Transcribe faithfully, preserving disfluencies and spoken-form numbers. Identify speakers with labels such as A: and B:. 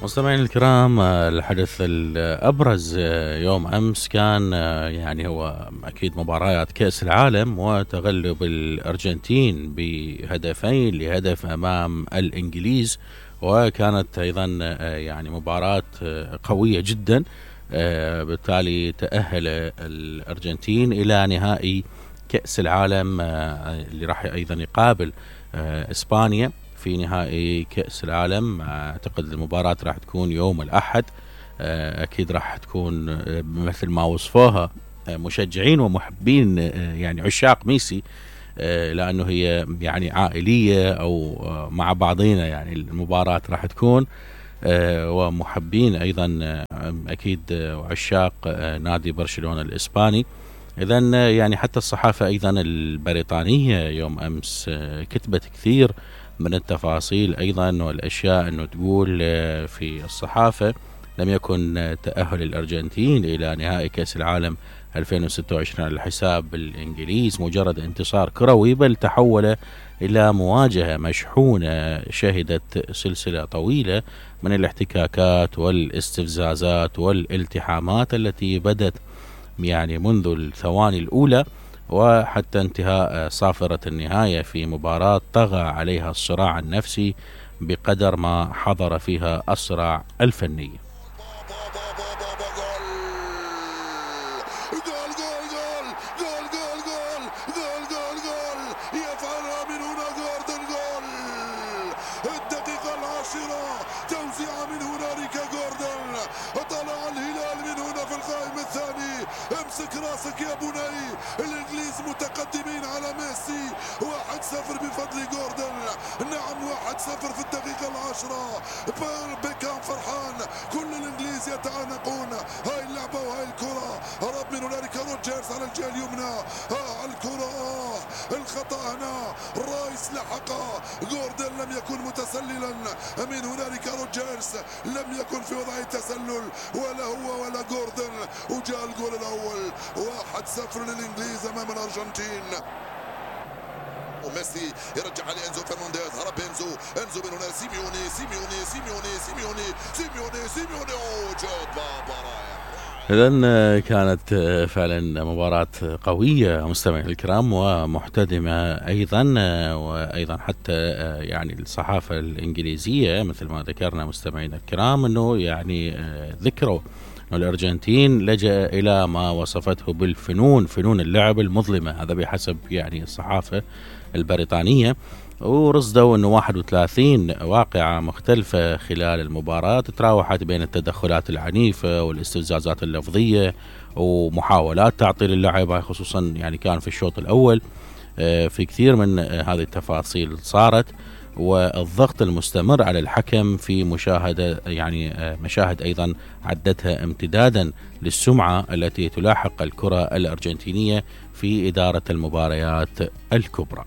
A: مستمعينا الكرام، الحدث الأبرز يوم أمس كان يعني هو أكيد مباريات كأس العالم وتغلب الأرجنتين بهدفين لهدف أمام الإنجليز، وكانت أيضا يعني مباراة قوية جدا. بالتالي تأهل الأرجنتين إلى نهائي كأس العالم اللي راح أيضا يقابل إسبانيا في نهائي كأس العالم. أعتقد المباراة راح تكون يوم الأحد. أكيد راح تكون مثل ما وصفوها مشجعين ومحبين يعني عشاق ميسي، لأنه هي يعني عائلية أو مع بعضينا. يعني المباراة راح تكون ومحبين أيضا أكيد عشاق نادي برشلونة الإسباني. إذن يعني حتى الصحافة أيضا البريطانية يوم أمس كتبت كثير من التفاصيل أيضا والأشياء، أنه تقول في الصحافة: لم يكن تأهل الأرجنتين إلى نهائي كأس العالم ألفين وستة وعشرين على حساب الإنجليز مجرد انتصار كروي، بل تحول إلى مواجهة مشحونة شهدت سلسلة طويلة من الاحتكاكات والاستفزازات والالتحامات التي بدت يعني منذ الثواني الأولى وحتى انتهاء صافرة النهاية في مباراة طغى عليها الصراع النفسي بقدر ما حضر فيها الصراع الفني.
B: توزيع من هنالك جوردن، طلع الهلال من هنا في القائم الثاني. امسك راسك يا بني، الانجليز متقدمين على ميسي واحد صفر بفضل جوردن. نعم واحد صفر في الدقيقة العاشرة. بيكام فرحان، كل الانجليز يتعانقون. هاي اللعبة وهاي الكرة، هرب من هنالك روجرز على الجهة اليمنى. ها الكرة، آه الخطأ هنا، رايس لحقه. جوردن لم يكن متسللا، من هنالك روجرز لم يكن في وضع التسلل، ولا هو ولا جوردن. وجاء الجول الأول، واحد صفر للإنجليز أمام الأرجنتين. وميسي يرجع على انزو فرنانديز، هرب انزو، انزو من هنا سيميوني سيميوني سيميوني سيميوني سيميوني سيميوني وجود بابا رايح.
A: إذن كانت فعلا مباراة قوية مستمعينا الكرام ومحتدمة أيضا، وأيضا حتى يعني الصحافة الإنجليزية مثل ما ذكرنا مستمعينا الكرام أنه يعني ذكروا أن الأرجنتين لجأ إلى ما وصفته بالفنون، فنون اللعب المظلمة. هذا بحسب يعني الصحافة البريطانية. ورصدوا أنه واحد وثلاثين واقعة مختلفة خلال المباراة تتراوحت بين التدخلات العنيفة والاستفزازات اللفظية ومحاولات تعطيل اللعب، خصوصا يعني كان في الشوط الأول. في كثير من هذه التفاصيل صارت، والضغط المستمر على الحكم في مشاهدة يعني مشاهد أيضا عدتها امتدادا للسمعة التي تلاحق الكرة الأرجنتينية في إدارة المباريات الكبرى.